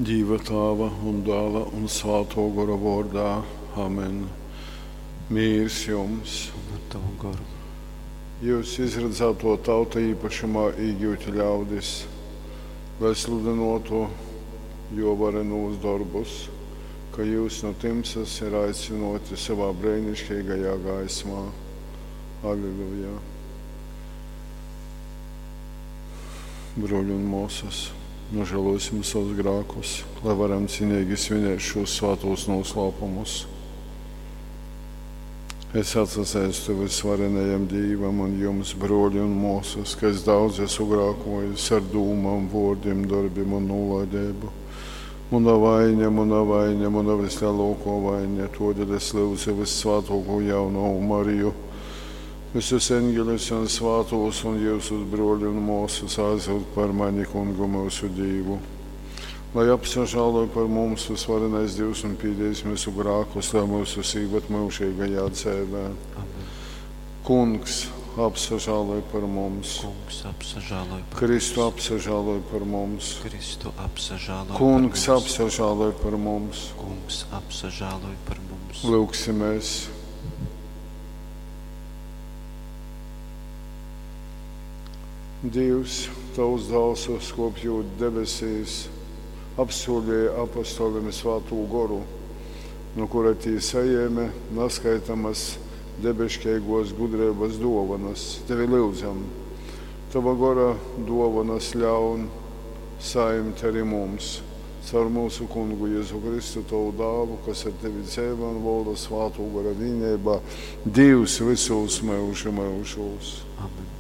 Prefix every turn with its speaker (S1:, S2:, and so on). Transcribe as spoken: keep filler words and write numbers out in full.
S1: Dīva Tāva un Dāla un Svātō Gora vōrdā. Amen. Mīrs jums!
S2: Un ar tavu goru.
S1: Jyus izradzātō tauta īpašumā īgyuti ļaudis, lai sludynōtu jō varenūs dorbus, ka jyus nu tymsas ir aicynōti sovā breiniškeigajā gaismā. Alleluja. Brōļi un mōsas, nožēlosim savus grākus, lai varam cienīgi svinēt šos svātos noslēpumus. Es atsazeistu vysvarenajam Dīvam un jums, brōļi un mōsas, ka es daudz esmu grākojis ar dūmām, vōrdim, darbim un nūlaideibu. Muna vaiņa, muna vaiņa, muna vislielākā vaiņa, todēļ es lūdzu vissvātāko jaunavu Mariju, visus eņģeļus un svātos un jyusus brōļi un mōsas aizlūdz par mani kungu mūsu Dīvu. Lai apsažāloj par mums vysvarenais Dievs un pīdīs mūsu grākus, lai mūsus īvad mūžīgajā dzēvē.
S2: Amen.
S1: Kungs, apsažāloj par mums.
S2: Kungs, apsažāloj par
S1: Kristu
S2: mums.
S1: apsažāloj par mums.
S2: Kristu apsažāloj
S1: Kungs,
S2: par mums.
S1: apsažāloj par mums.
S2: Kungs, apsažāloj par mums.
S1: Lūgsimies. Dievs, tavs dāls uzkopjot debesīs, apsolīja apostoliem svātū goru, no kura tī sajēme naskaitamas debeškeigos gudrības dovanas. Tevi lūdzam, tava gora dovanas ļaun saimt arī mums, caur mūsu kungu Jēzu Kristu, tavu dālu, kas ar tevi dzēva un valda svātū gora vienībā, Dievs visos mūžu mūžos.
S2: Amen.